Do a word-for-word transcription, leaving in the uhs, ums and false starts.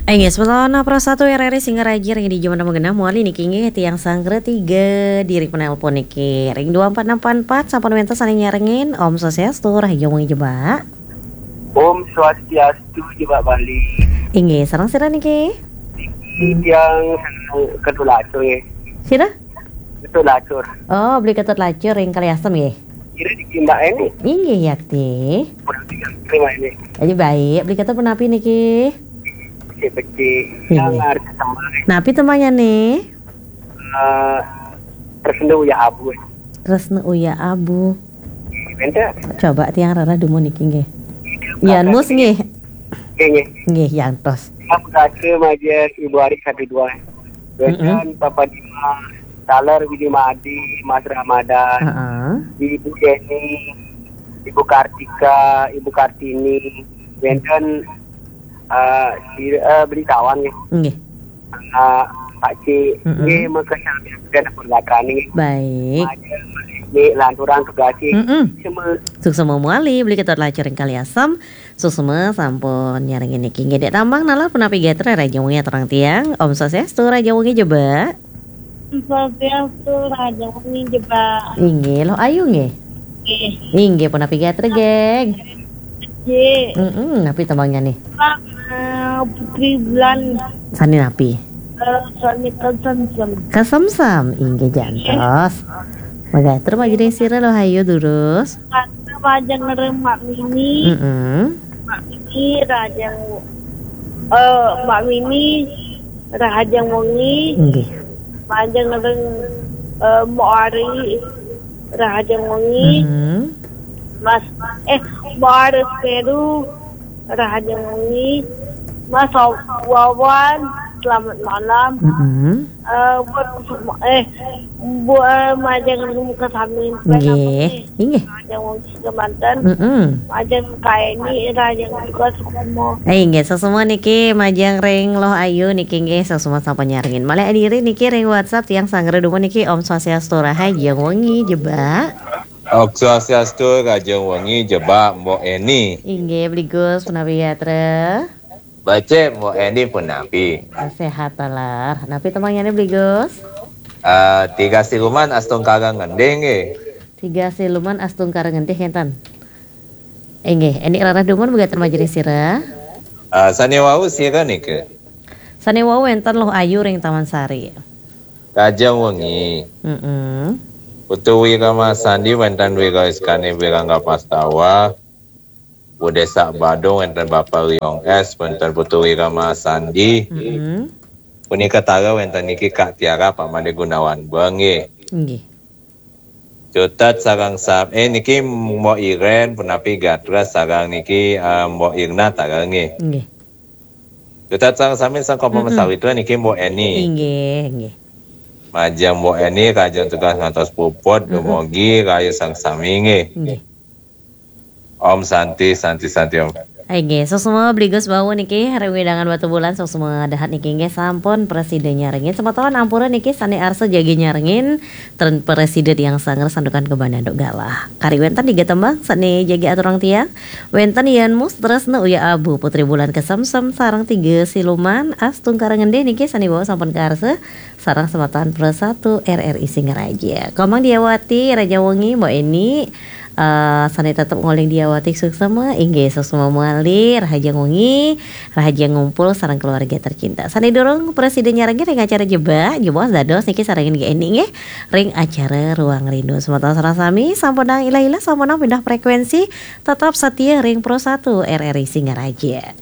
Inggih, semeton Pro satu R R I Singaraja ring di jam enam genah mawali niki inggih tiang sanggra tiga diri penelpon niki ring dua empat enam empat empat sampun wenten sane nyarengin. Om Swastiastu, rahajeng wengi Jebak. Om Swastiastu, Jebak Bali. Inggih, sareng sira niki? Niki tiang sareng Ketut Lacur nggih. Sira? Ketut Lacur. Oh, Beli Ketut Lacur ring Kaliasem nggih. Kira niki Mbak Eni. Inggih, yakti. Punapi niki Mbak Eni. Jadi baik, Beli Ketut punapi niki? Becik-becik. Inggih. Yang arep tembang. Napi tembangnya nih? Eh, Tresna Uyah Abu. Tresna Uyah Abu. Wenten. Coba tiang rarah dumun niki nggih. Yan Mus nggih. Nggih, nggih. Nggih, yantos. Sampun majeng Ibu Ari satu dua. Wenten Papa Dima, Taler Widi Madi, Mas Ramadan, heeh, Ibu Yeni, Ibu Kartika, Ibu Kartini, wenten, eh, si, eh, Beli Tawan nggih. Nggih. Eh, Pak Cik, mm-mm, nggih, mangke sami pun gatrani nggih. Baik. Majeng, nggih, lanturang tugas nggih. Mm-mm. Semua. Suksema mawali, Beli Ketut Lacur ring Kaliasem. Suksema sampun nyarengin niki. Nggih, Dek Tambang nalar punapi gatra rahajeng wengi aturang tiang. Om Swastiastu, rahajeng wengi Jebak. Om Swastiastu, rahajeng wengi Jebak. Inggih, Luh Ayu nggih. Nggih. Inggih, punapi gatra, geng? Nggih. Mm-mm, napi tembangnya nih? Sama Putri Bulan. Sane napi? Eh, sane Kesemsem. Kesemsem, inggih jantos. Magatra majeng sira Luh Ayu durus. Kata majeng ring Mak Mini. Mm-mm. Mak Mini rahajeng, eh, Mak Mini rahajeng wengi. Nggih. Majeng ring, eh, Mbok Ari rahajeng wengi. Mm-mm. Mas, eh, Mbok Ari Peru rahajeng wengi. Mas Wawan, selamat malam. Mm-mm. Eh, buat, eh, buat majeng ring sami. Nggih, nggih. Majeng wengi kemanten. Mm-mm. Majeng Kak Eni, rahajeng wengi suksema. Eh, nggih, suksema niki majeng ring Luh Ayu niki nggih, suksema sampun nyarengin. Malih diri niki ring WhatsApp tiang sanggra dumun niki. Om Swastiastu, rahajeng wengi Jebak. Om Swastiastu, rahajeng wengi Jebak, Mbok Eni. Inggih, Beli Gus, punapi gatra? Becik, Mbok Eni punapi? Sehat taler. Napi tembangnya nih, Beli Gus? Eh, Tiga Siluman Astungkara Ngendih nggih. Tiga Siluman Astungkara Ngendih, enten. Inggih, Eni rarah dumun magatra majeng sira. Eh, sane wau sira nika? Sane wau wenten Luh Ayu ring Taman Sari. Rahajeng wengi. Mm-mm. Putu Wira Masandi wenten Wira Iskani Wirangga Pastawa. Budesa Badung wenten Bapak Riong S, wenten Putu Wira Masandi. Mm-mm. Punika taler wenten niki Kak Tiara, Pak Made Gunawan Beng nggih. Nggih. Cutet sareng sam-, eh, niki Mbok Iren, punapi gatra sareng niki, eh, Mbok Irna taler nggih. Nggih. Cutet sareng sami sang Kompa, mm-mm, Sawitra niki Mbok Eni. Inggih, nggih. Majeng Mbok Eni, rahajeng tugas ngantos puput, mm-mm, dumugi rahayu sareng sami nggih. Nggih. Om Santi, Santi, Santi Om. Inggih, suksma Beli Gus wau niki ring wewidangan Batubulan, suksma dahat niki nggih sampun prasida nyarengin. Semeton ampura niki sane arsa jagi nyarengin, ten prasida tiang sanggra Santukan Kebon Anduk Galah. Kari wenten tiga tembang sane jagi aturang tiang. Wenten Yan Mus, Tresna Uyah Abu, Putri Bulan Kesemsem sareng Tiga Siluman Astungkara Ngendih niki sane wau sampun kaarsa sareng semeton Pro satu R R I Singaraja. Komang Diawati, rahajeng wengi, Mbok Eni, eh, sane tetep nguling Diawati suksma, inggih suksma mawali, rahajeng wengi, rahajeng ngumpul sareng keluarga tercinta. Sane durung prasida nyarengin ring acara Jebak, jebos dados niki sarengin Mbok Eni nggih ring acara Ruang Rindu. Semeton sareng sami sampunang ilah-ilah, sampunang pindah frekuensi, tetep setia ring Pro satu R R I Singaraja.